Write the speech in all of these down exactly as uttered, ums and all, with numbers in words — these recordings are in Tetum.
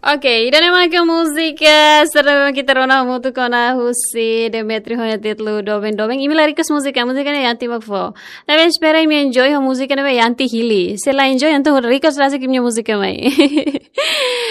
Ok, ida-ne'e mak múzika sira ne'ebé mak ita rona hamutuk ona husi Demetrio ho nia títulu Doben Doben. Imi la request múzika, múzika ne'e Yanti mak fó. Ne'ebé espera imi enjoy ho múzika ne'ebé Yanti hili. Se la enjoy, entaun request rasik imi-nia múzika mai.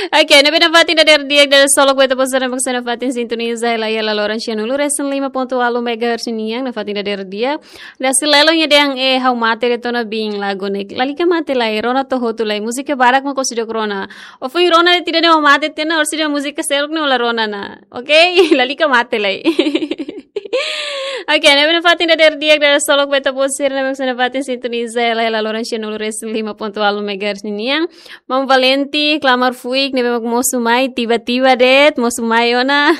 Ok, ne'ebé nafatin dadeer di'ak, dadeer solok ba ita-boot sira ne'ebé mak sei nafatin sintoniza hela iha laloran sianulu-resin-lima pontu ualu megahertz nian, nafatin dadeer di'ak. Dasi Lelo nia dehan, eh, ha'u mate de'it ona biin, lagu ne'e. Lalika mate lai, rona to'o hotu lai, múzika barak mak ó seidauk rona. Ó foin rona de'it ida-ne'e ó mate tiha ona, orsida múzika seluk ne'e ó la rona ona. Ok? Lalika mate lai. Ok, ne'ebé nafatin dadeer di'ak, dadeer solok ba ita-boot sira ne'ebé mak sei nafatin sintoniza hela iha laloran sianulu-resin-lima pontu ualu megahertz nian. Maun Valenti, klamar fuik, ne'ebé mak mosu mai, tiba-tiba de'it, mosu mai ona.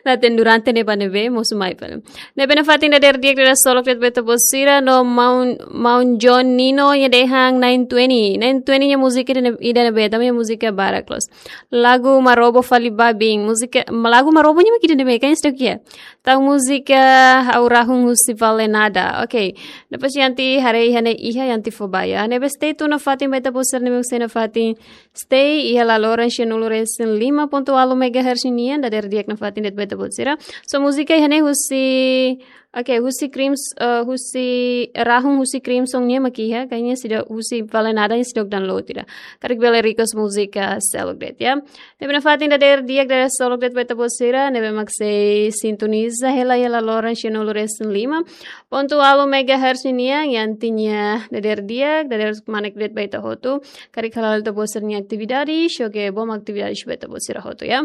Naten durante ne'ebá ne'ebé, mosu mai fali. Ne'ebé nafatin dadeer di'ak, dadeer solok de'it ba ita-boot sira, no Maun, Maun John Nino nia dehan Nine Twenty. Nine Twenty nia múzika ida-ne'e, ida-ne'ebé, tanba nia múzika barak loos. Lagu Marobo fali ba biin, múzika, lagu Marobo nia mak ida-ne'ebé, kan stok ya. Tau múzika Ha'u Rahun husi Vale Nada. Ok. Depois Yanti haree iha ne'e iha Yanti fó ba ya. Ne'ebé stay tune nafatin ba ita-boot sira ne'ebé mak sei nafatin stay iha laloran sianulu-resin-lima pontu ualu megahertz nian, dadeer di'ak nafatin de'it ba ita-boot sira. So múzika iha ne'e husi, ok, husi Crims, eh, husi Rahun husi Crimson nia mak iha, kayaknya seidauk husi Vale Nada nia seidauk download ida. Karik bele request múzika seluk de'it ya. Ne'ebé nafatin dadeer di'ak, dadeer solok de'it ba ita-boot sira ne'ebé mak sei sintoniza hela iha laloran sianulu-resin-lima pontu ualu megahertz nian, Yanti nia dadeer di'ak, dadeer kmanek de'it ba ita hotu. Karik hala'o ita-boot sira-nia atividade, xoke bom atividade ba ita-boot sira hotu ya.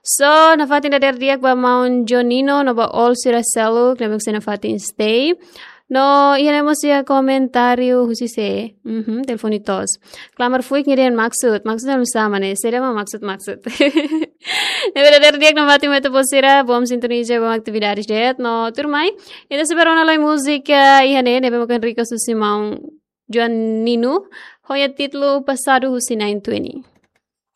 So, nafatin dadeer di'ak ba Maun John Nino, no ba all sira seluk ne'ebé mak sei nafatin stay. No, iha ne'e mós iha komentáriu husi sé. Mhm, telefone toos. Klamar fuik nia dehan maksud, maksud anu sama ne'e, sira mak maksud, maksud. Ne'ebé dadeer di'ak nafatin ba ita-boot sira, bom sintoniza, bom atividade de'it, no tuirmai. Ita sei bá rona lai múzika iha ne'e, ne'ebé mak request husi Maun John Nino, ho nia títulu Pasadu husi Nine Twenty.